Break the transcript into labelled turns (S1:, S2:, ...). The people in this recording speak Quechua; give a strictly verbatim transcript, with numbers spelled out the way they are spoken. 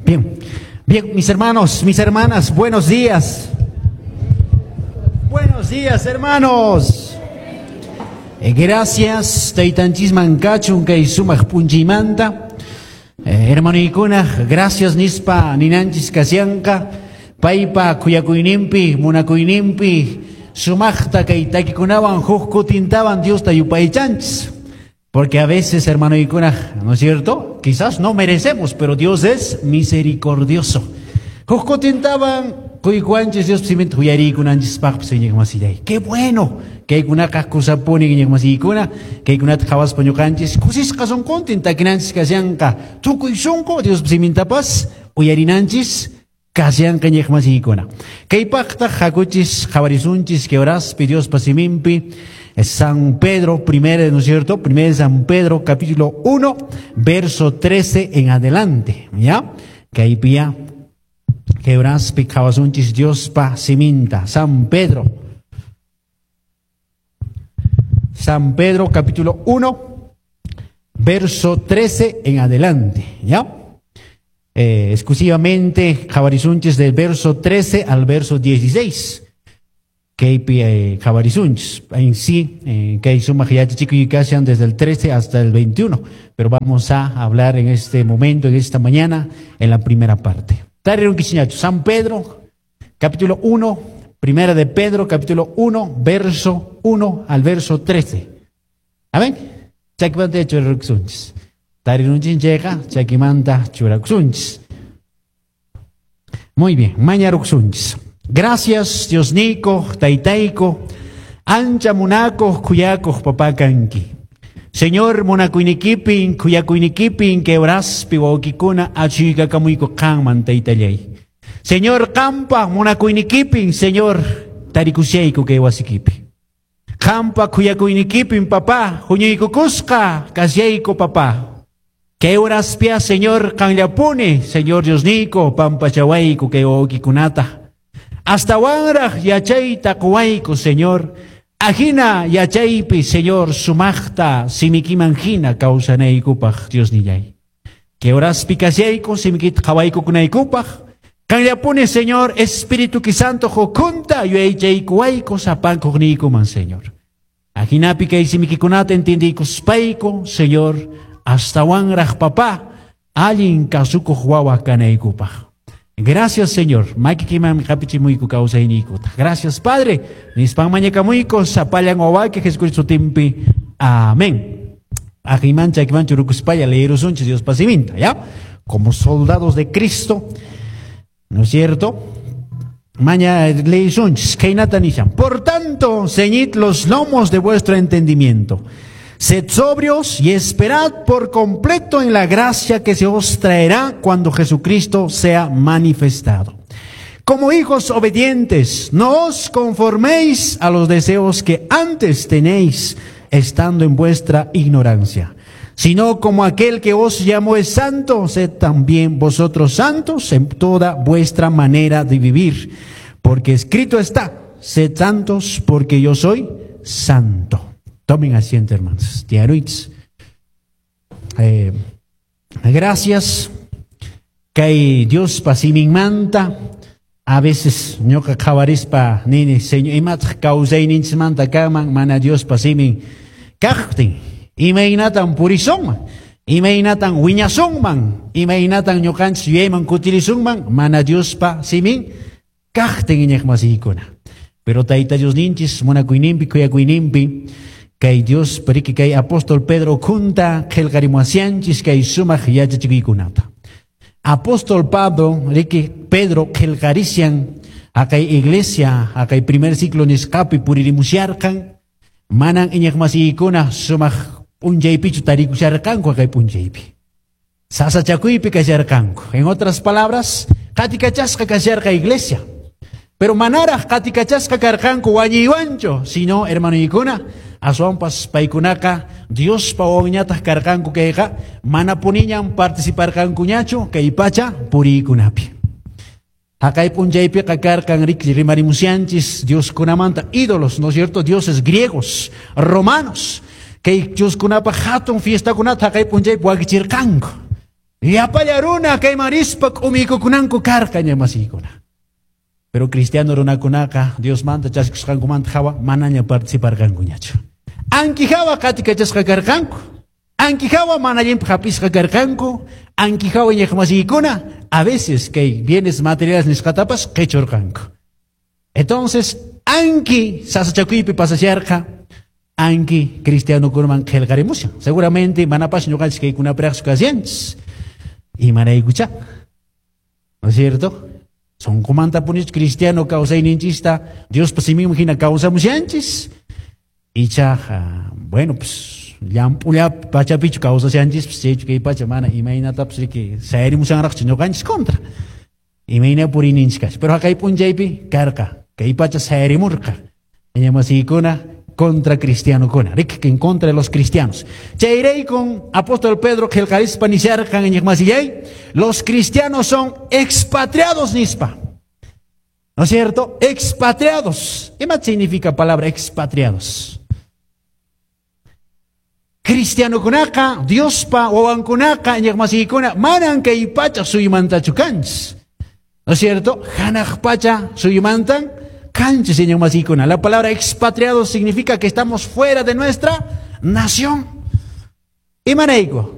S1: Bien, bien, mis hermanos, mis hermanas, buenos días. Buenos días, hermanos. Eh, gracias, taytanchisman kachun kay sumaq p'unchaymanta. Eh, hermanoykuna, gracias nispa ninanchis kashanqa paypa khuyakuyninpi, munakuyninpi, sumaqta kay takikunawan huk kutintawan Diosta yupaychanchis. Porque a veces, hermanoykuna, ¿no es cierto? Quizás no merecemos, pero Dios es misericordioso. Huk kutintawan quykuwanchis Dios siminta uyariykunanchispaqpas iñiqmasillay. Qué bueno kaykunaqa kusapuni iñiqmasiykuna, kaykunata qhawaspa ñuqanchis kusisqa sunquntin takinanchis kashanqa tukuy sunqu Dios simintapas uyarinanchis kashanqa iñiqmasiykuna. Kaypaqtaq hakuchis qhawarisunchis kay horaspi Diospa siminpi San Pedro, primero, ¿no es cierto? Primero San Pedro, capítulo uno, verso trece en adelante, ¿ya? Kaypiyá kay horaspi qhawasunchis Diospa siminta, San Pedro. San Pedro, capítulo uno, verso trece en adelante, ¿ya? Eh, exclusivamente qhawarisunchis del verso trece al verso dieciséis. Kaypi eh, qhawarisunchis en sí, eh, kay sumaq yachachikuy kashan desde el trece hasta el veintiuno, pero vamos a hablar en este momento, en esta mañana, en la primera parte. San Pedro, capítulo uno, primera de Pedro, capítulo uno, verso uno al verso trece. Amén. Chakimanta churakusunchis. Tarirunchis chayqa, chakimanta churakusunchis. Muy bien, mañarukusunchis. Gracias, Diosniyku, Taytayku, ancha munakuq, khuyakuq papá kanki. Señor, munakuynikipin, khuyakuynikipin, kay horaspi wawqikuna achuykakamuyku qanman taytallay. Señor, qampa munakuynikipin, Señor, tarikushayku kay wasikipi. Qampa khuyakuynikipin, papá, huñuykukusqa kashayku, papá. Kay horaspia, Señor, qanllapuni, Señor Diosniyku, pampachawayku kay wawqikunata. Astawanraq yachayta quwayku, Señor. Ajina yachaypi, Señor, sumaqta simikiman hina kawsanaykupaq, Diosnillay. Kay horaspi kashayku, simikita qhawaykukunaykupaq. Qanllapuni, Señor, Espíritu Santo hukhunta yuyaychaykuwayku sapankuqniykuman, Señor. Ajinapi kay simikikunata entendiykuspayku, Señor, astawanraq papá, allin kasukuq wawa kanaykupaq. Gracias, Señor. Makikiman hapichimuyku kawsayniykuta. Gracias, Padre. Nispan mañakamuyku sapallan wawayki Jesucristo sutinpi. Amén. Ajiman chakiman churukuspalla leerusunchis Diospa siminta, ¿ya? Como soldados de Cristo, ¿no es cierto? Maña leesunchis khaynata nishan. Por tanto, ceñid los lomos de vuestro entendimiento. Sed sobrios y esperad por completo en la gracia que se os traerá cuando Jesucristo sea manifestado. Como hijos obedientes, no os conforméis a los deseos que antes tenéis, estando en vuestra ignorancia, sino como aquel que os llamó es santo, sed también vosotros santos en toda vuestra manera de vivir. Porque escrito está, sed santos porque yo soy santo. Tomen asiento, hermanos. Tiaruits. Eh, gracias. Kay Diospa siminmanta. A veces ñuqa qhawarispa nini, Señor, imataq kawsayninchikmanta kanman mana Diospa simin kaqtin. Imaynatan purisunman, imaynatan wiñasunman, imaynatan ñuqanchis yuyayman kutirisunman mana Diospa simin kaqtin iñiqmasiykuna. Pero Tayta Diosninchis munakuyninpi khuyakuyninpi kay Dios riki kay apóstol Pedro kunta qillqarimuwashanchis kay sumaq yachachikuykunata. Apóstol Pablo riki Pedro qillqarishan haqay iglesia haqay primer ciclo nisqapi puririmusharqan manan iñiqmasiykuna sumaq p'unchaypichu tarikusharqanku haqay p'unchaypi. Sasachakuypi kasharqanku. En otras palabras, qatikachasqa kasharqa iglesia. Pero manaraq qatikachasqa karqanku wañuywanchu, sino hermanoykuna aswanpas paykunaqa Diospa wawanñataq karqanku kayqa manapuniñan participarqankuñachu kay pacha puriykunapi. Haqay p'unchaypiqa karqan riki rimarimushanchis dioskunamanta ídolos, ¿no es cierto? Dioses griegos, romanos, kay dioskunapaq hatun fiestakunata haqay p'unchaypi wakichirqanku. Llapalla runa kayman rispa k'umiykukunanku karqa iñiqmasiykuna. Pero cristiano runakunaqa Diosmanta chaskikusqankumanta hawa manaña participarqankuñachu. Anki hawa qatikachasqa karqanku. Anki hawa mana allinpaq hap'isqa karqanku. Anki hawa iñiqmasiykuna a veces kay bienes materiales nisqatapas qichurqanku. Entonces, anki sasachakuypi pasasharqa, anki cristianokunaman qillqarimushan. Seguramente manapas ñuqanchis kaykunapiraqchu kashanchis. Imaraykucha. ¿No es cierto? Sunqumantapunichu cristiano kawsayninchista Diospa siminman hina kawsamushanchis. Ichaqa, bueno, pues llamp'ulla pachapichu kawsashanchis, pues chaychu kay pacha mana imaynatapas riki sayarimushanraqchu ñuqanchis contra. Imayna puriyninchis kashan. Pero haqay p'unchaypi karqa, kay pacha sayarimurqa. Iñiqmasiykuna contra cristianokuna, riki en contra de los cristianos. Chayraykun apóstol Pedro qillqarispa nisharqan iñiqmasillay, los cristianos son expatriados nispa. ¿No es cierto? Expatriados. ¿Qué más significa palabra expatriados? Cristianokunaqa, Diospa wawankunaqa iñiqmasiykuna manan kay pacha suyumantachu kanchis. ¿No es cierto? Hanaq pacha suyumantan kanchis iñiqmasiykuna. La palabra expatriados significa que estamos fuera de nuestra nación. Imarayku,